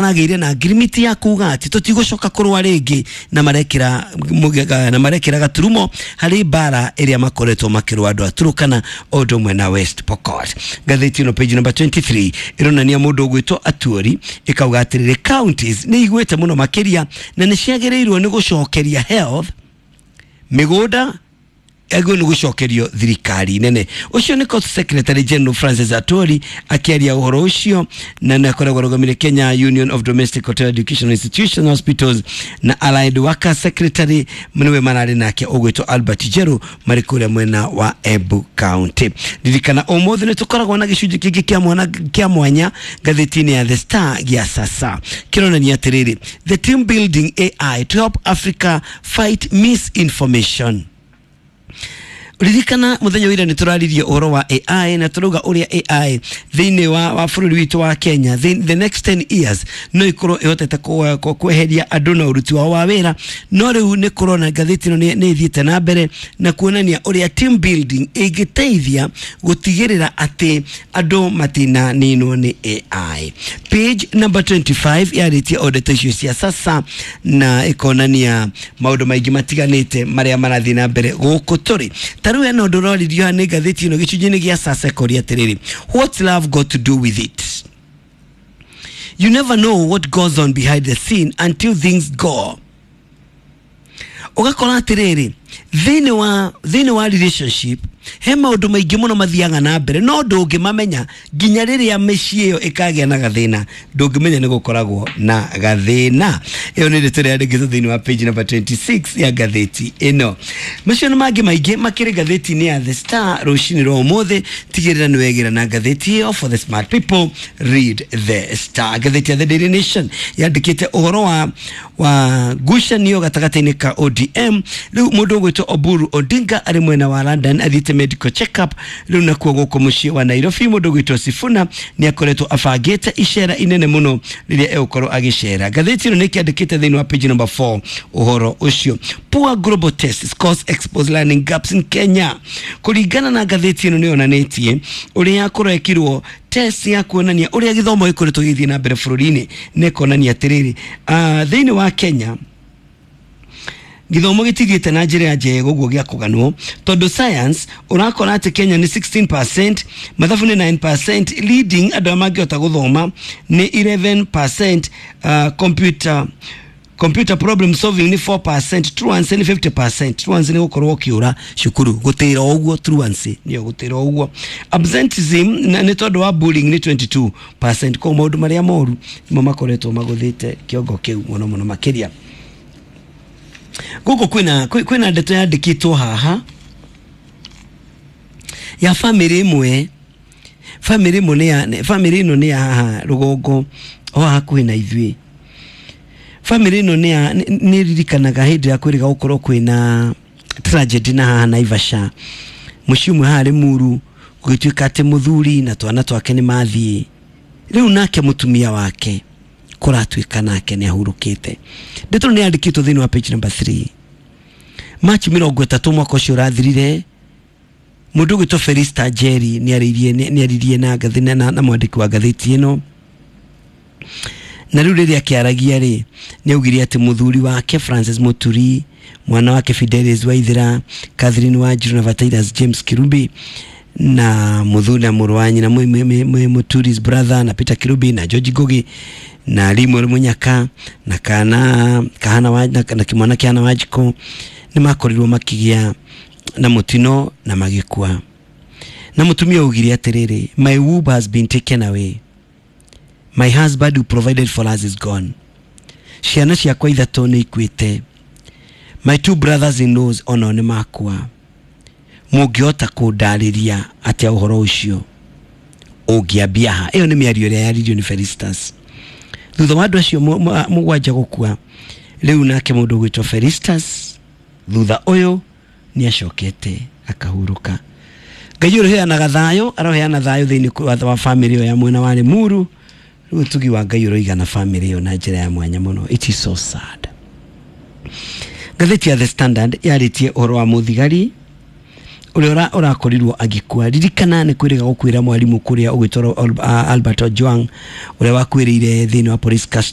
Maragĩire na ngirimiti ya kuga atĩ tũtigũcoka kũrũa rĩngĩ na marekĩra na marekĩra gaturumo harĩ mbara ĩrĩa makoretwo makĩrũa andũ a Turkana o ũndũ ũmwe na West Pokot. Ngathĩti ĩno page number 23 ĩronania mũndũ ũgwĩtwo Atuori, ĩkauga atĩrĩrĩ, counties nĩ igwĩte mũno makĩria na nĩ ciagĩrĩirwo nĩ gũcokeria health mĩgũnda agwo nĩ gũcokerio thirikari nene. Ũcio nĩ Court Secretary General Francis Atwoli akĩaria ũhoro ũcio, na nĩ akoragwo arũgamĩrĩire Kenya Union of Domestic Hotel Educational Institution Hospitals na Allied Workers Secretary nĩwe mararĩ nake ũgwĩtwo Albert Njeru marĩ kũrĩa mwena wa Embu County. Ririkana ũmũthĩ nĩ tũkoragwo na gĩcunjĩ kĩngĩ kĩa mwana kĩa mwanya ngathĩti-inĩ ya The Star gĩa sasa kĩronania atĩrĩrĩ, the team building AI to help Africa fight misinformation. Ririkana muthenya wa ira nĩ tũraririe ũhoro wa AI na tũrauga ũrĩa AI thĩinĩ wa bũrũri witũ wa Kenya the next 10 years no ikorwo ĩhotete kweheria andũ na ũruti wao wa wĩra. No rĩu nĩ kũrona ngathĩti ĩno nĩ ĩthiĩte na mbere na kuonania ũrĩa team building ĩngĩteithia gũtigĩrĩra atĩ andũ matinaninwo nĩ AI. Page number 25 yarĩtie o ndeto icio cia sasa na ĩkonania maũndũ maingĩ matiganĩte marĩa marathiĩ na mbere gũkũ tũrĩ. Ta rĩu hena ũndũ ũroririo haha nĩ ngathĩti ĩno gĩcunjĩ-inĩ gĩa sasa, ĩkoria atĩrĩrĩ, what's love got to do with it? You never know what goes on behind the scene until things go. Ũgakora atĩrĩrĩ, thĩinĩ wa relationship he maũndũ maingĩ mũno mathiaga na mbere no ndũngĩmamenya nginya rĩrĩa mĩciĩ ĩyo ĩkagĩa na gathĩna, ndũngĩmenya nĩ gũkoragwo na gathĩna. Ĩyo nĩ ndeto ĩrĩa yandĩkĩtwo thĩinĩ wa page number 26 ya ngathĩti ĩno. Macio na mangĩ maingĩ makĩrĩ ngathĩti-inĩ ya The Star rũcinĩ rwa ũmũthĩ. Tigĩrĩra nĩ wegĩra na ngathĩti ĩyo. For the smart people, read The Star. Ngathĩti ya The Daily Nation yandĩkĩte ũhoro wa ngucanio gatagatĩ-inĩ ka ODM. Rĩu mũndũ ũgwĩtwo Oburu Odinga arĩ mwena wa London athiĩte medical check-up. Rĩu nakuo gũkũ mũciĩ wa Nairobi mũndũ ũgwĩtwo Sifuna nĩ akoretwo abangĩte icera inene mũno rĩrĩa egũkorwo agĩcera. Ngathĩti ĩno nĩ ĩkĩandĩkĩte thĩinĩ wa page number 4 ũhoro ũcio. Poor global test scores expose learning gaps in Kenya. Kũringana na ngathĩti ĩno nĩ yonanĩtie ũrĩa kũrekirwo test ya kuonania ũrĩa gĩthomo gĩkoretwo gĩgĩthiĩ na mbere bũrũri-inĩ, na ĩkonania atĩrĩrĩ, thĩinĩ wa Kenya gĩthomo gĩtithiĩte na njĩra ya njega ũguo gĩa kũganwo, tondũ science ũrakora atĩ Kenya nĩ 16%, mathabu nĩ 9%, leading andũ arĩa mangĩhota gũthoma nĩ 11%, computer problem solving nĩ 4%, truancy nĩ 50%. Truancy nĩ gũkorwo ũkĩũra cukuru, gũtĩra o ũguo, truancy nĩyo gũtĩra o ũguo. Absenteeism nĩ tondũ wa bullying nĩ 22%. Koguo maũndũ marĩa moru nĩmo makoretwo magũthĩte kĩongo kĩu mũno mũno makĩria. Gũkũ kwĩna ndeto yandĩkĩtwo haha ya bamĩrĩ ĩmwe. Bamĩrĩ ĩmwe nĩ ya bamĩrĩ ĩno nĩ ya haha rũgongo o haha hakuhĩ na ithuĩ. Bamĩrĩ ĩno nĩ ririkanaga hĩndĩ ya kwĩrĩga gũkorwo kwĩna tragedy na haha Naivasha, mũciĩ ũmwe haha Limuru, gũgĩtuĩka atĩ mũthuri na twana twake nĩ mathiĩ. Rĩu nake mũtumia wake kũratuĩka nake nĩ ahurũkĩte. Ndeto nĩ yandĩkĩtwo thĩinĩ wa page number 3. Machi 30 mwaka ũcio ũrathirire, mũndũ ũgwĩtwo Felista Njeri nĩ aririe na ngathĩ na mwandĩki wa ngathĩti ĩno, na rĩu rĩrĩa akĩaragia rĩ, nĩ augire atĩ mũthuri wake Francis Muturi, mwana wake Fidelis Waithera, Catherine Wanjiru na Vatiras James Kirubi na mũthuri na mũrũ wa nyina Muturi's brother na Peter Kirubi na George Ngugi na Limuel Munyaka na kana kahana wa, na kimwana kĩhana Wanjikũ nĩ makorirwo makĩgĩa na mũtino na magĩkua. Na mũtumia augire atĩrĩrĩ, "My womb has been taken away. My husband who provided for us is gone. Ciana ciakwa ithatũ nĩ ikuĩte. My two brothers in laws onao nĩ makua. Mũngĩhota kũndarĩria atĩa ũhoro ũcio ũngĩambia ha?" Ĩyo nĩ mĩario ĩrĩa yaririo nĩ Felistas thutha wa andũ acio mũgwanja gũkua. Rĩu nake mũndũ ũgwĩtwo Felistas thutha ũyũ nĩ acokete akahurũka. Ngai ũrĩheanaga thayũ aroheana thayũ thĩinĩ wa bamĩrĩ ĩyo ya mwena wa Limuru. Rĩu ũtugi wa Ngai ũroigana bamĩrĩ ĩyo na njĩra ya mwanya mũno. It is so sad. Ngathĩti ya The Standard yarĩtie ũhoro wa mũthigari Ũrĩa ũrakorirwo agĩkua, ririkana nĩ kwĩrĩga gũkwĩra mwarimũ kũrĩa ũgĩtwarwo Albert Ojwang ũrĩa wakuĩrĩire thĩinĩ wa police custody.